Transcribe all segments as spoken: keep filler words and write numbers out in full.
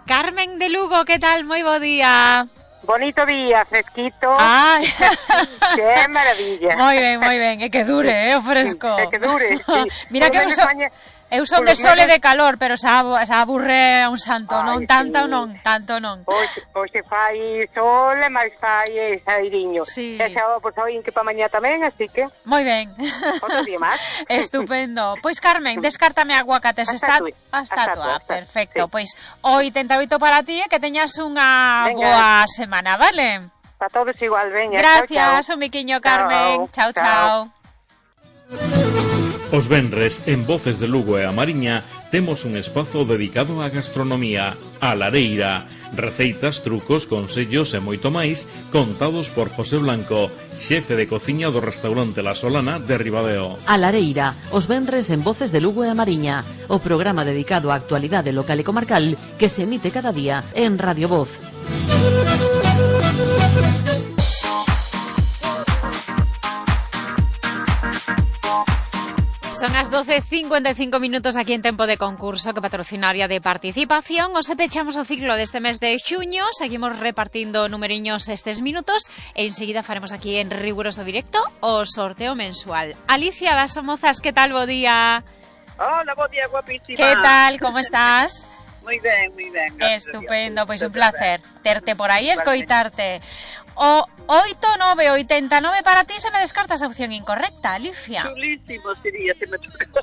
Carmen de Lugo, que tal? Moi bo día. Bonito día, fresquito. Ah, que maravilla. Moi ben, moi ben, e que dure, eh, o fresco. E que dure, sí. Mira que eu son, eu son de sol e de calor, pero xa, xa aburre a un santo, Ay, non tanto sí. non, tanto non. Hoxe, hoxe fai sol e máis fai sairiño. Sí. E xa, pois, hoy que pa mañá tamén, así que... Moi ben. Outro día máis. Estupendo. Pois, Carmen, descártame aguacates. Está a estatua. Perfecto. Sí. Pois, oitenta e oito para ti e que teñas unha Venga. boa semana, vale? Para todos igual, veña. Gracias, chao, chao. un miquiño, Carmen. Chao, chao. chao. Os venres, en Voces de Lugo e a Mariña, temos un espazo dedicado á gastronomía, a lareira, receitas, trucos, consellos e moito máis, contados por José Blanco, xefe de cociña do restaurante La Solana de Ribadeo. A lareira, os venres en Voces de Lugo e a Mariña, o programa dedicado á actualidade local e comarcal que se emite cada día en Radio Voz. Son as doce e cincuenta e cinco minutos aquí en Tempo de Concurso, que patrocinaria de participación. Os pechamos o ciclo deste mes de xuño, seguimos repartindo numeriños estes minutos e enseguida faremos aquí en riguroso directo o sorteo mensual. Alicia das Somozas, que tal, bo día? Hola, bo día, guapísima. Que tal, como estás? Moi ben, moi ben. Estupendo, pois un placer terte por aí, escoitarte. O oito nove oitenta e nove para ti, se me descartas a opción incorrecta, Alicia. Chulísimo sería se me tocó.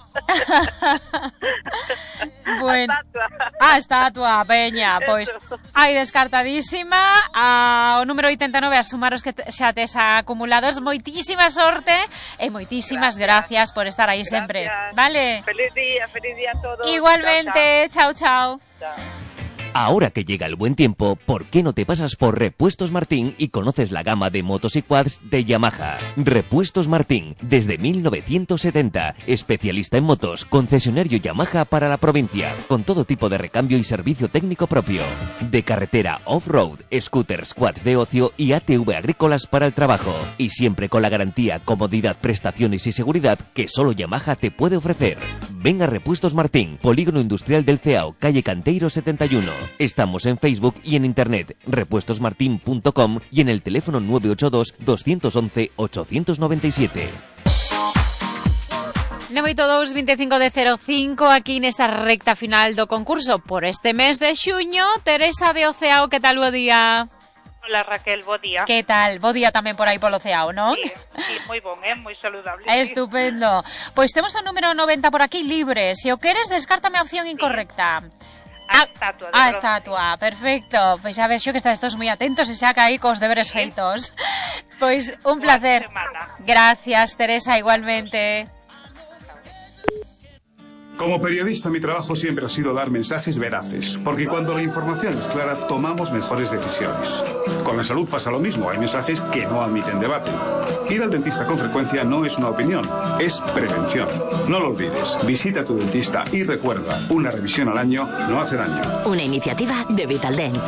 Bueno, a estatua. a estatua, peña, pois hai descartadísima. A, o número oitenta e nove, a sumaros que xa tes acumulados. Moitísima sorte e moitísimas gracias, gracias por estar aí sempre. Vale? Feliz día, feliz día a todos. Igualmente, chao, chao. Chao. Ahora que llega el buen tiempo, ¿por qué no te pasas por Repuestos Martín y conoces la gama de motos y quads de Yamaha? Repuestos Martín, desde mil novecientos setenta, especialista en motos, concesionario Yamaha para la provincia, con todo tipo de recambio y servicio técnico propio. De carretera, off-road, scooters, quads de ocio y A T V agrícolas para el trabajo. Y siempre con la garantía, comodidad, prestaciones y seguridad que solo Yamaha te puede ofrecer. Ven a Repuestos Martín, Polígono Industrial del Ceao, calle Canteiro setenta y uno. Estamos en Facebook y en internet, repuestos martin punto com y en el teléfono nueve ocho dos, dos once, ocho nueve siete. nove oito dous, veinticinco de cero cinco, aquí nesta recta final do concurso por este mes de xuño. Teresa de Oceao, que tal, bo día? Hola, Raquel, bo día. Que tal? Bo día tamén por aí polo Ceao, non? Sí, sí, moi bon, eh? Moi saludable. Estupendo. Pois temos o número noventa por aquí libre. Se o queres, descártame a opción incorrecta. A estatua. A estatua, perfecto. Pois xa ves xo que estás todos moi atentos e xa caí cos deberes feitos. Pois un placer. Gracias, Teresa, igualmente. Como periodista, mi trabajo siempre ha sido dar mensajes veraces, porque cuando la información es clara, tomamos mejores decisiones. Con la salud pasa lo mismo, hay mensajes que no admiten debate. Ir al dentista con frecuencia no es una opinión, es prevención. No lo olvides, visita a tu dentista y recuerda, una revisión al año no hace daño. Una iniciativa de Vitaldent.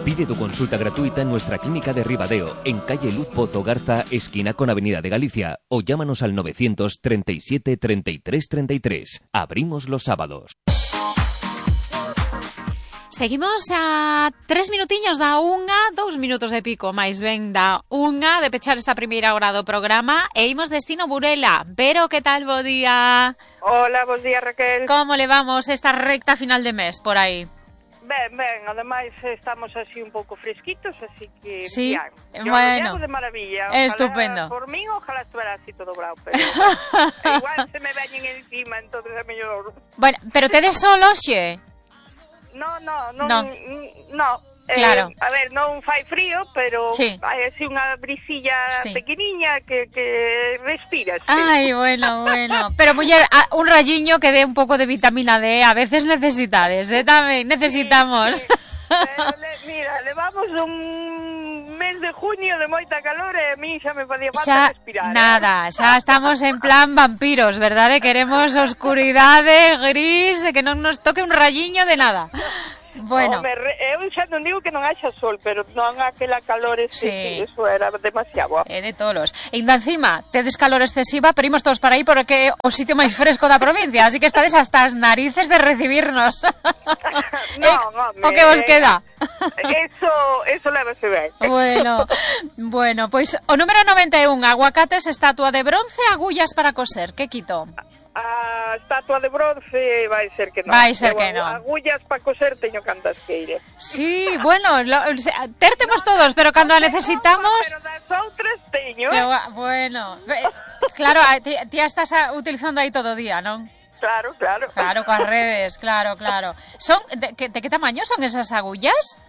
Pide tu consulta gratuita en nuestra clínica de Ribadeo, en calle Luz Pozo Garza, esquina con Avenida de Galicia, o llámanos al novecientos treinta y siete, treinta y tres, treinta y tres. Abrimos los sábados. Seguimos a tres minutiños da unha, dous minutos de pico, máis ben da unha, de pechar esta primeira hora do programa, e imos destino Burela. Vero, que tal, bo día? Hola, bos días, Raquel. Como levamos esta recta final de mes por aí? Ben, ben, ademais estamos así un pouco fresquitos, así que... Sí, bien. Yo bueno. De maravilla. Ojalá, estupendo. Por mí, ojalá estuviera así todo bravo, pero igual se me veñen encima, entonces é mellor... Bueno, pero tedes solo, xe? No, no, non, no. no. Claro. Eh, a ver, non fai frío, pero sí. hai así unha brisilla sí. pequeniña que, que respiras. Sí. Ai, bueno, bueno. Pero, muller, un rayiño que dé un pouco de vitamina D, a veces necesitades, eh, tamén necesitamos. Sí, sí. Pero, le, mira, levamos un mes de junio de moita calor e a mí xa me podía falta xa, respirar. Nada, eh? xa estamos en plan vampiros, verdade? Queremos oscuridade, gris, que non nos toque un rayiño de nada. Bueno. Home, re, eu xa non digo que non haxa sol, pero non aquela calor ese, Sí. que eso era demasiado. É de tolos. E ainda encima, tedes calor excesiva, pero imos todos para aí porque é o sitio máis fresco da provincia, así que estades hasta as narices de recibirnos. Non, home. O que vos queda? Eso, eso lévase ben. Bueno, bueno, pois o número noventa e un, aguacates, estatua de bronce, agullas para coser. Que quito? A estatua de bronce vai ser que non. Vai ser Eu, que non. Agullas para coser teño cantas queire. Sí, bueno, lo, o sea, tértemos todos, pero cando a necesitamos... Pero das outras teño, Pero, eh? bueno, eh, claro, a- ti, ti a estás a, utilizando aí todo o día, non? Claro, claro. Claro, coas redes, claro, claro. Son de, que, de que tamaño son esas agullas?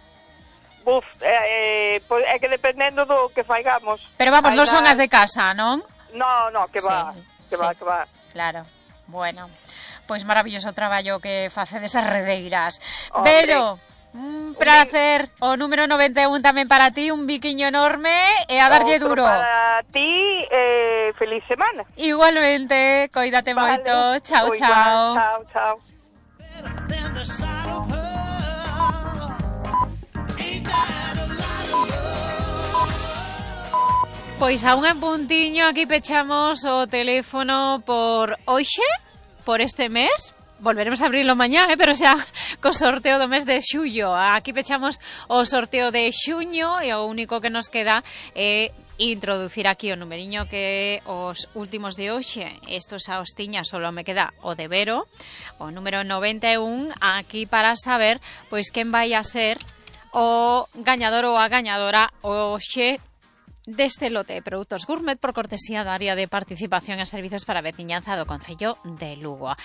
Buf, eh, eh, pois é que dependendo do que faigamos. Pero vamos, non Hai son das- as de casa, non? No, no, que va, Sí, que sí. va, que va. Claro, bueno, pois maravilloso traballo que facedes as redeiras. Hombre. Pero, un placer, o número noventa e un tamén para ti, un biquiño enorme e a darlle Outro duro. para ti, eh, feliz semana. Igualmente, coídate Vale. moito, chao, Moi chao. igual, chao, chao. Pois a un en puntiño aquí pechamos o teléfono por hoxe, por este mes. Volveremos a abrirlo mañá, eh, pero xa co sorteo do mes de xullo. Aquí pechamos o sorteo de xuño e o único que nos queda é introducir aquí o numeriño que os últimos de hoxe. Estos a hostiña solo me queda o de Vero, o número noventa e un, aquí para saber pois quen vai a ser o gañador ou a gañadora hoxe deste lote de produtos gourmet por cortesía da área de participación e servizos para a veciñanza do Concello de Lugo.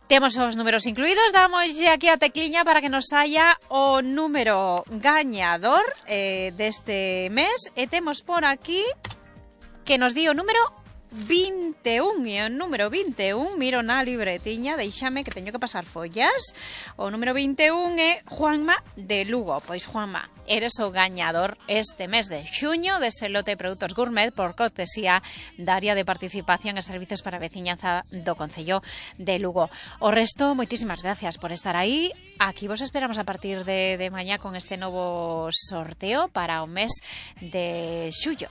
Temos os números incluídos, damoslle aquí a tecliña para que nos saia o número gañador eh, deste mes e temos por aquí que nos di o número vinte e un, e o número vinte e un, miro na libretiña, deixame que teño que pasar follas. O número vinte e un é Juanma de Lugo. Pois Juanma, eres o gañador este mes de xuño dese lote de produtos gourmet por cortesía da área de participación e servizos para a veciñanza do Concello de Lugo. O resto, moitísimas gracias por estar aí. Aquí vos esperamos a partir de, de mañá con este novo sorteo para o mes de xullo.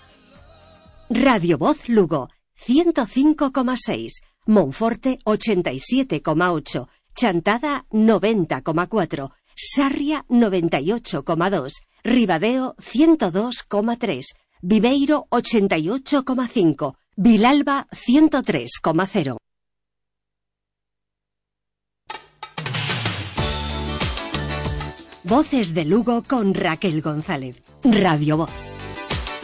Radio Voz Lugo, ciento cinco coma seis, Monforte ochenta y siete coma ocho, Chantada noventa coma cuatro, Sarria noventa y ocho coma dos, Ribadeo ciento dos coma tres, Viveiro ochenta y ocho coma cinco, Vilalba ciento tres coma cero. Voces de Lugo con Raquel González. Radio Voz.